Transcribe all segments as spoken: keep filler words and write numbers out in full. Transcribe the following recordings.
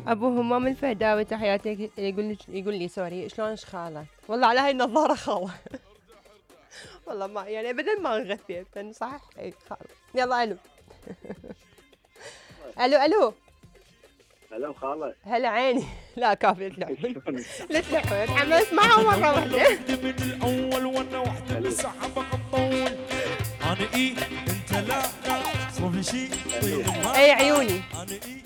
ابو همام الفهداوي تحياتي، يقول يقول لي سوري شلونش خاله؟ والله على هاي النظاره خاله. والله ما يعني ابدا ما انغثيت صح. اي خاله. يلا الو. الو الو هلا خاله. هلا عيني. لا كافي تلحون. لا تلحون حماس معها مره واحده. من الاول وانا وحده لسه حبك تطول. انا ايه انت لا صار في شيء. اي عيوني. انا ايه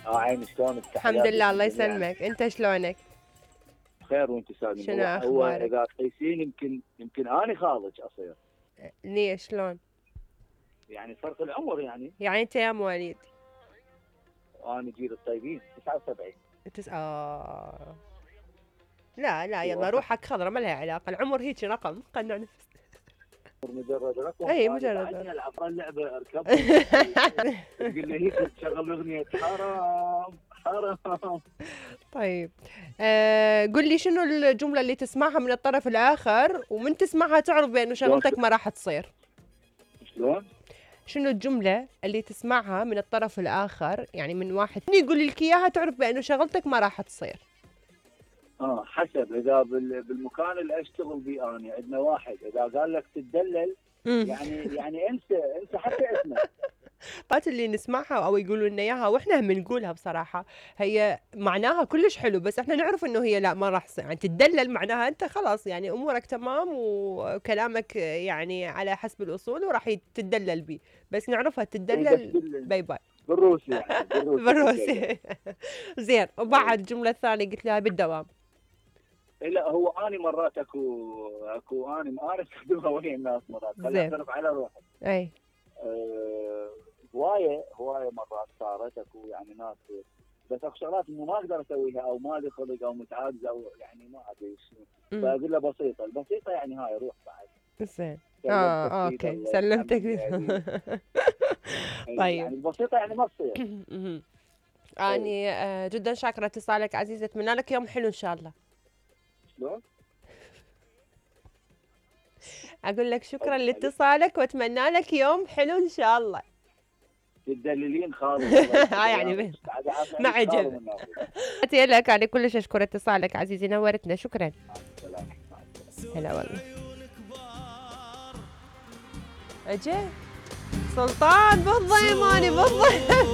اه عيني شلونك؟ الحمد لله الله يسلمك، انت شلونك؟ بخير وانت سالم. شنو هو اخبارك؟ اذا تقيسين يمكن يمكن اني خالك اصير. ليش شلون؟ يعني فرق العمر يعني. يعني انت يا مواليد؟ انا جيل الطيبين تسعة وسبعين. تس آه. لا لا يلا روحك خضرة ما لها علاقة، العمر هيك رقم قنع نفس. مجرد رقم. اي مجرد رقم. رقم. العب اللعبة اركب. تقول لي هيك تشغل اغنية حرام حرام. طيب آه قل لي شنو الجملة اللي تسمعها من الطرف الآخر ومن تسمعها تعرف بأنه شغلتك ما راح تصير؟ شلون؟ شنو الجملة اللي تسمعها من الطرف الآخر يعني من واحد يقول لك إياها تعرف بأنه شغلتك ما راح تصير؟ اه حسب اذا بالمكان اللي اشتغل بيه انا عندنا واحد اذا قال لك تدلل يعني يعني انسى انسى حتى اسمه. قات اللي نسمعها او يقولوا لنا اياها واحنا هم نقولها بصراحه هي معناها كلش حلو بس احنا نعرف انه هي لا ما راح تصير، يعني تدلل معناها انت خلاص يعني امورك تمام وكلامك يعني على حسب الاصول وراح تدلل بيه، بس نعرفها تدلل باي باي بالروسي يعني بالروسي. بالروسي. زين وبعد الجمله الثانيه قلت لها بالدوام. لا هو اني مرات اكو اكو اني انا استخدمها ويا الناس مرات خليني اعترف على روحي. اي أه هوايه هوايه مرات صارت اكو يعني ناس بس اكو شغلات انه ما اقدر اسويها او ما لي خلق او متعاجزه او يعني ما ادري شنو فاقول له بسيطه البسيطه يعني هاي روح بعد. زين اه اوكي سلمتك. طيب يعني البسيطه يعني ما تصير. اني آه جدا شاكره اتصالك عزيزه، اتمنى لك يوم حلو ان شاء الله. شلون؟ اقول لك شكرا لاتصالك واتمنى لك يوم حلو ان شاء الله. تدللين خالص. ها يعني ما عجب. تحياتي لك انا كلش اشكر اتصالك عزيزي نورتنا شكرا. هلا والله. اجي سلطان بالضيماني بالضيماني.